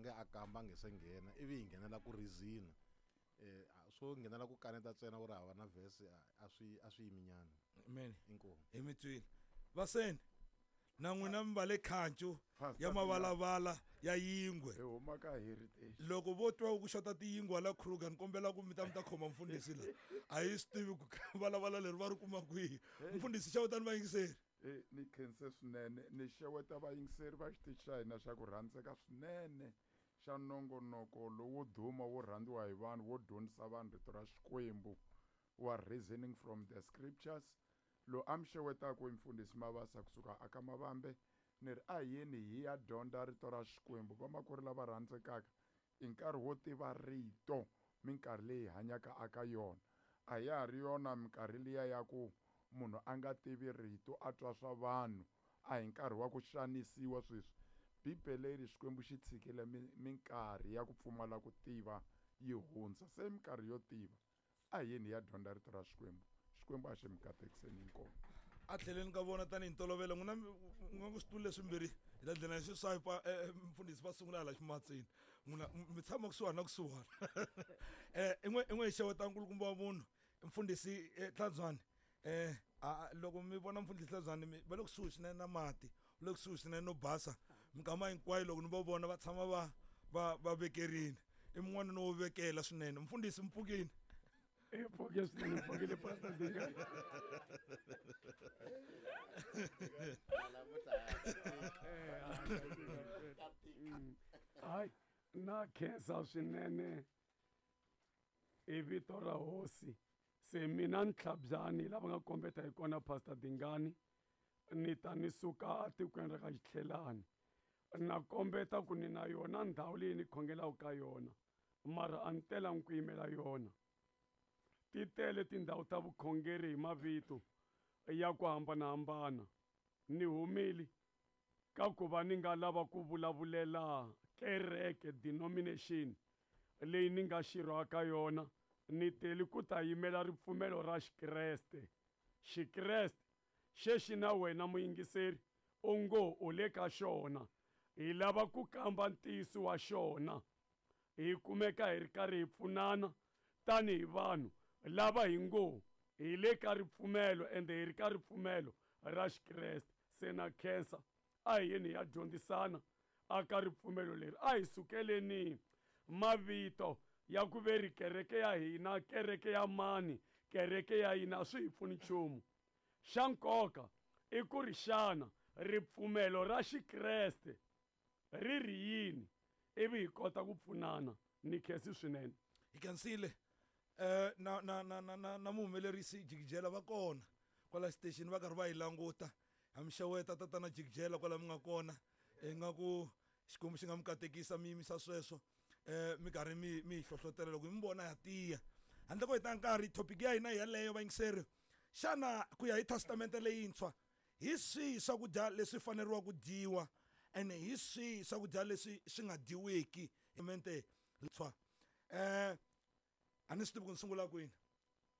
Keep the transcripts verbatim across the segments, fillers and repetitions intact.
rhange a kamba a nge se nghena ivi hi nghenela ku reason eh swo nghenela ku kaneta ntsena u ri hava na verse a a swi a swi yiminyana Amen. Inkomu. Hi mi twile vaseni na n'wina mi va le khancu Pastor ya mavalavala ya yingwe. Hi huma ka heritage. Loko vo twa ku xota tiyingwe la Kruger ni kombela ku mi ta mi ta khoma mfundhisi la. A hi swi tivi ku valavala leri va ri kuma kwihi. Mfundhisi xewetani vayingiseri. Eh ni khense swinene ni xeweta vayingiseri va xitichi xa hina xa ku rhandzeka swinene xa nongonoko lowo duma wo rhandziwa hi vanhu wo dyondzisa vanhu rito ra Xikwembu wa Reasoning from the Scriptures. Lo a mi xewetaka i mfundhisi Mabasa kusuka aka Mavambe ni ri a hi yeni hi ya dyondza rito ra Xikwembu. Vamakwerhu lava rhandzekaka i nkarhi wo tiva rito minkarhi leyi hi hanyaka aka yona. A ya ha ri yona minkarhi liya ya ku munhu a nga tivi rito a twa swa vanhu a hi nkarhi wa ku xanisiwa sweswi. Bibele yi ri Xikwembu xi tshikile minkarhi ya ku pfumala ku tiva yi hundza se minkarhi yo tiva a hi yeni hi ya dyondza rito ra Xikwembu. Xikwembu a xi mi katekiseni inkomu. A tlheleni ka vona tanihi ntolovelo n'wina n'wi nga ku switulu leswimbirhi hi ta dlina hi swi swipe mfundhisi va sungula hala ximatsini n'wina mi tshama kusuhani na kusuhani. Eh in'we in'we hi xeweta nkulukumba wa munhu mfundhisi Tlhandzwani. Eh loko mi vona mfundhisi Tlhandzwani va le kusuhi swinene na mati va le kusuhi swinene no basa minkama hinkwayo loko ni va vona va tshama va va va vekerini i mun'wana no vekela swinene. Mfundhisi mpfukini. E pfukile swinene, mpfukile Pastor Dingani. Hayi na khensa swinene i vito ra hosi. Se mina Ntlhabyani lava nga kombeta hi kona Pastor Dingani ni ta ni suka atikweni ra ka Xitlhelani na kombeta ku ni na yona ndhawu leyi ni khongelaka ka yona mara a ni telangi ku yimela yona. Ti tele tindhawu ta vukhongeri hi mavito ya ku hambanahambana. Ni humile ka ku va ni nga lava ku vulavulela kereke denomination leyi ni nga xirho ka yona ni tele ku ta yimela ripfumelo ra Xikreste. Xikreste xexi na wena muyingiseri u ngo u le ka xona hi lava ku kamba ntiyiso wa xona hi kumeka hi ri karhi hi pfunana tanihi vanhu lava hi ngo hi le ka ripfumelo ende hi ri ka ripfumelo ra Xikreste. Se na khensa a hi yeni hi ya dyondzisana aka ripfumelo leri. A hi sukeleni mavito ya ku ve ri kereke ya hina kereke ya mani kereke ya hina swi hi pfuni nchumu. Xa nkoka i ku ri xana ripfumelo ra Xikreste ri ri yini ivi hi kota ku pfunana. Ni khensi swinene. Hi khensile. Eh na na na na na muhumelerisi Jikijela va kona kwala station va karhi va yi languta. Ha mi xeweta tatana Jikijela kwala mi nga kona ingaku Xikwembu xi nga mi katekisa mi yimisa sweswo eh mi karhi mi mi hlohlotela loko mi vona ya tiya. Handle ko heta nkarhi topic ya hina yaleyo vayingiseri xana ku ya hi testamente leyintshwa hi swihi swakudya leswi faneriwa ku dyiwa ene hi swihi swakudya leswi swi nga dyiweki testamente leyintshwa. Eh a ni swi tivi ku ni sungula kwini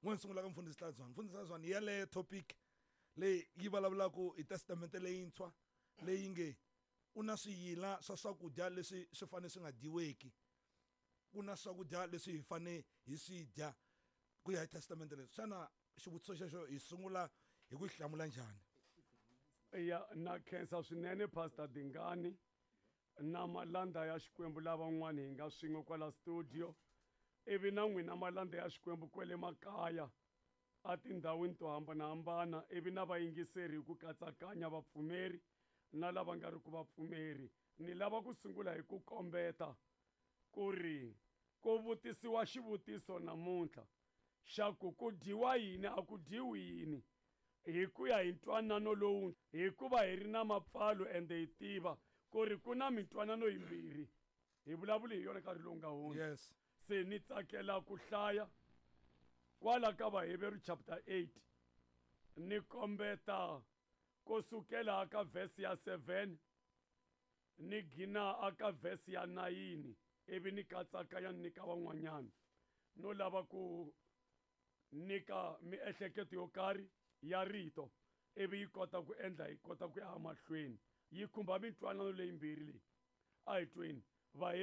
n'we ni sungula ka mfundhisi Tlhandzwani. Mfundhisi Tlhandzwani yaleyo topic leyi yi vulavulaka hi testamente leyintshwa leyi nge u na swiyila swa swakudya leswi swi fanele swi nga dyiweki ku na swakudya leswi hi fanele hi swi dya ku ya hi testamente leyi. Xana xivutiso xexo hi sungula hi ku hlamula njhani? Ya na khensa swinene Pastor Dingani na malanda ya Xikwembu lavan'wana hi nga swin'we kwala studio ivi na n'wina malanda ya Xikwembu kwele makaya a tindhawini to hambanahambana ivi na vayingiseri hi ku katsakanya vapfumeri na lava nga ri ku vapfumeri. Ni lava ku sungula hi ku kombeta ku ri ku vutisiwa xivutiso namuntlha xa ku ku dyiwa yini a ku dyiwi yini hi ku ya hi ntwanano lowu hikuva hi ri na mapfalo ende hi tiva ku ri ku na mintwanano yimbirhi hi vulavuli hi yona nkarhi lowu nga hundza. Yes. Se ni tsakela ku hlaya kwala ka Vaheveru chapter eight ni kombeta ku sukela ka verse ya seven ni gina aka verse ya nine ivi ni katsakanya ni ka van'wanyana no lava ku nyika miehleketo yo karhi ya rito ivi yi kota ku endla yi kota ku ya mahlweni yi khumba mintwanano leyimbirhi leyi. A hi tweni Vaheveru